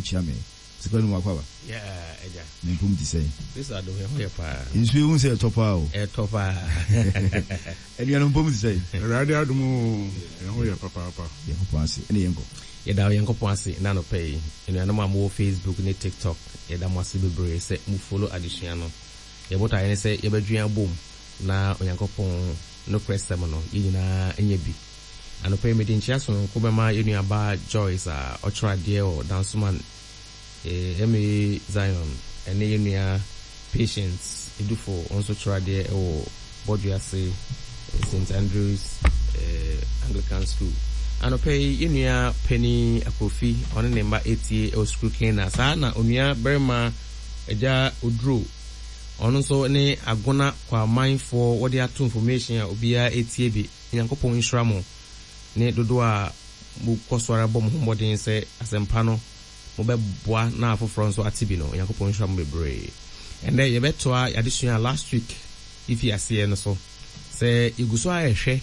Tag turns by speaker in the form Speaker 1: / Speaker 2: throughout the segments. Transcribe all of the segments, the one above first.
Speaker 1: kyia me. Sika no mu akɔ aba.
Speaker 2: Yeah, agya.
Speaker 1: Ne mpom te sɛn?
Speaker 2: Kristo adom, ɛho yɛ paa.
Speaker 1: Nsuo yi hu sɛ ɛtɔ paa o.
Speaker 2: Ɛtɔ paa.
Speaker 1: Anuanom mpom te sɛn?
Speaker 3: Awurade adom o, ɛho yɛ papaapa.
Speaker 1: Nyankopɔn ase, ɛne yɛnkɔ.
Speaker 2: Yɛda Onyankopɔn ase nnɛ anɔpa yi. Anuanom a mowɔ Facebook ne TikTok, yɛda mo ase bebree sɛ mo follow adesua no. Yɛn botaeɛ ne sɛ yɛbɛdwen abom na Onyankopɔn nokorɛ sɛm no, yɛn nyinaa anya bi. Anɔpa yi mede nkyea sononko bɛma yɛn nuabaa Joyce a ɔkyerɛ adeɛ wɔ Dansoman MA Zion ne yɛn nua Patience Edufo ɔno nso kyerɛ adeɛ wɔ Bɔdwease St. Andrews Anglican School. Anɔpa yi yɛn nua panin Akrofi ɔne ne mma ɛretie wɔ Sukuu Kena. Saa na onua barima Agya Oduro ɔno nso ne Agona Kwamanfoɔ wɔde ato information a obiara ɛretie bi. Nyankopɔn nhyira mo ne dodoɔ a mo kɔ so ara bɔ mo ho mmɔden sɛ asɛmpa no mo bɛ boa na afoforɔ nso ate bi no. Onyankopɔn nhyira mo bebree. Ɛndɛ yɛbɛtoa y'adesua a last week yɛfii aseɛ no so. Sɛ yɛgu so ara rehwɛ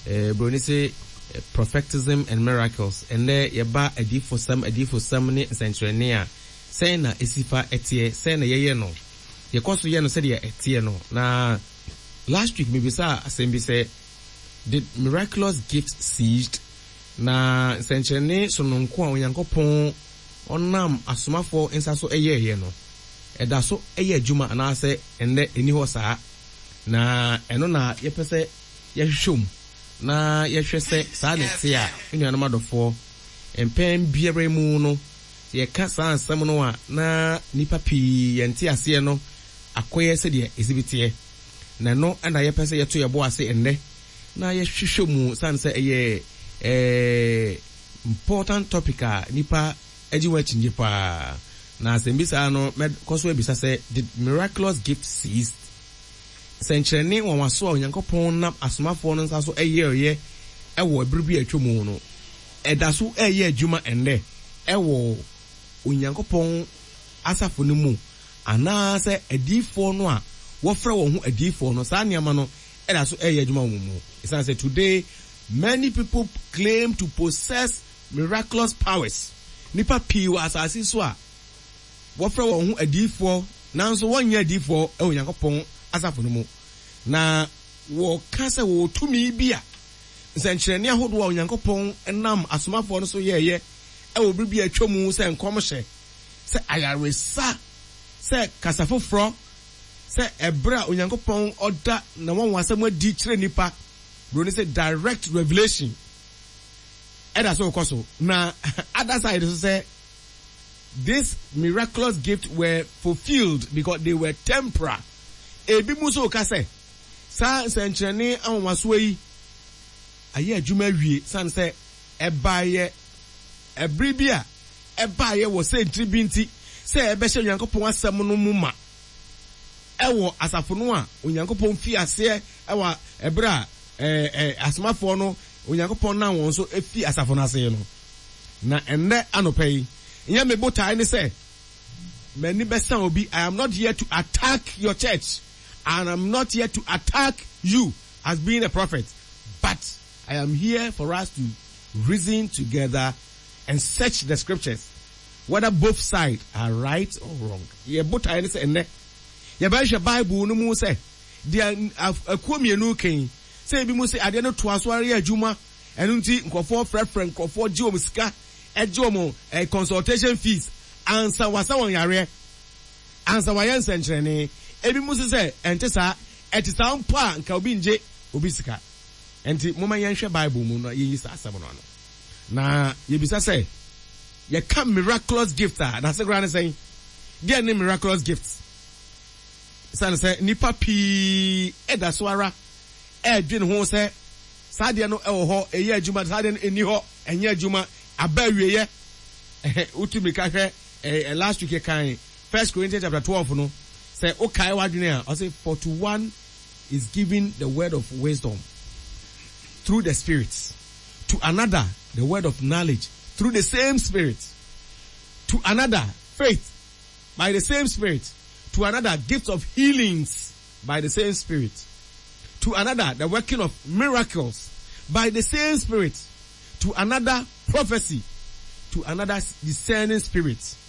Speaker 2: eh, broni se prophetism and miracles. Ɛndɛ yɛba adiyifosɛm, adiyifosɛm ne nsɛnkyerɛnne a, sɛn na ɛsi fa teɛ, sɛn na yɛyɛ no. Yɛkɔ so yɛ no sɛdeɛ ɛteɛ no. Na last week mebisaa asɛm bi sɛ, Did miraculous gifts ceased? Na nsɛnkyerɛnne sononko a Onyankopɔn ɔnam asomafoɔ nsa so yɛeɛ no, ɛda so yɛ adwuma anaasɛ ɛnnɛ ɛnni hɔ saa? Na ɛno na yɛpɛ sɛ yɛhwehwɛ mu na yɛhwɛ sɛ saa na ɛte a. Me nuanom adɔfoɔ, mpɛn biara mu no, sɛ yɛka saa nsɛm no a, na nnipa pii yɛn nteaseɛ no akɔyɛ sɛdeɛ ɛsi bi teɛ. Na ɛno na yɛpɛ sɛ yɛto yɛn bo ase nnɛ na yɛhwehwɛ mu sane sɛ ɛyɛ important topic a nnipa gye ho akyinnye paa. Na asɛmmisa no mɛkɔ so abisa sɛ, Did miraculous gift cease? Sɛnkyerɛnne nwanwaso a Onyankopɔn nam asomafoɔ no nsa so yɛeɛ wɔ ɛberɛ bi a atwa mu no, ɛda so reyɛ adwuma ɛnnɛ wɔ Onyankopɔn asafo no mu anaasɛ adiyifoɔ no a wɔfrɛ wɔn ho adiyifoɔ no, saa nneɛma no da so reyɛ adwuma wɔ wɔn mu. Esiane sɛ today many people claim to possess miraculous powers, nnipa pii wɔ asase so a wɔfrɛ wɔn ho adiyifoɔ nanso wɔnyɛ adiyifoɔ wɔ Onyankopɔn asafo no mu, na wɔka sɛ wɔwɔ tumi bi a nsɛnkyerɛnne ahodoɔ a Onyankopɔn nam asomafoɔ no so yɛeɛ wɔ bere bi a atwa mu sɛ nkɔmhyɛ, sɛ ayaresa, sɛ kasa foforɔ, sɛ ɛberɛ a Onyankopɔn ɔda N'anwanwasɛm adi kyerɛ nnipa, Buroni sɛ direct revelation, ɛda so rekɔ so. Na other side nso sɛ this miraculous gift were fulfilled because they were temporal. Ebi mu nso reka sɛ saa nsɛnkyerɛnne anwanwasoɔ yi ayɛ adwuma awie sane sɛ ɛbaeɛ ɛbere bi a ɛbaeɛ wɔ sɛntiri bi nti sɛ ɛbɛhyɛ Onyankopɔn asɛm no mu ma wɔ asafo no a Onyankopɔn fii aseɛ wɔ ɛberɛ a asomafoɔ no Onyankopɔn nam wɔn so fii asafo no ase no. Na ɛnnɛ anɔpa yi, nyɛ me botae ne sɛ m'ani bɛsa obi. I am not here to attack your church and I am not here to attack you as being a prophet, but I am here for us to reason together and search the scriptures whether both side are right or wrong. Yɛn botaeɛ ne sɛ ɛnnɛ yɛbɛhwehwɛ Bible no mu sɛ deɛ akuo mmienu reka yi, sɛ ebinom se adeɛ no toa so ara yɛ adwuma, ɛno nti nkurɔfoɔ frɛfrɛ nkurɔfoɔ gye wɔn sika, gye wɔn eh, consultation fees ansa wasa wɔn yareɛ, ansa wayɛ nsɛnkyerɛnne. Ebinom se sɛ ɛnte saa, ɛte saa mpo a nka obi ngye obi sika. Ɛnti momma yɛnhwɛ Bible mu na yɛnyi saa asɛm no ano. Na yɛbisa sɛ, yɛka miraculous gift a, n'ase koraa ne sɛn? Deɛn ne miraculous gift? Esiane sɛ nnipa pii da so ara redwene ho sɛ saa adeɛ no wɔ hɔ, ɛyɛ adwuma, saa adeɛ no ɛnni hɔ, ɛnyɛ adwuma, aba awieɛ. Wotu mmirika hwɛ last week yɛkan First Corinthians chapter 12 no, sɛ wokae w'adwene a, ɔse for to one is given the word of wisdom through the Spirit, to another the word of knowledge through the same Spirit, to another faith by the same Spirit, to another gift of healings by the same Spirit, to another the working of miracles by the same Spirit, to another prophecy, to another discerning spirit.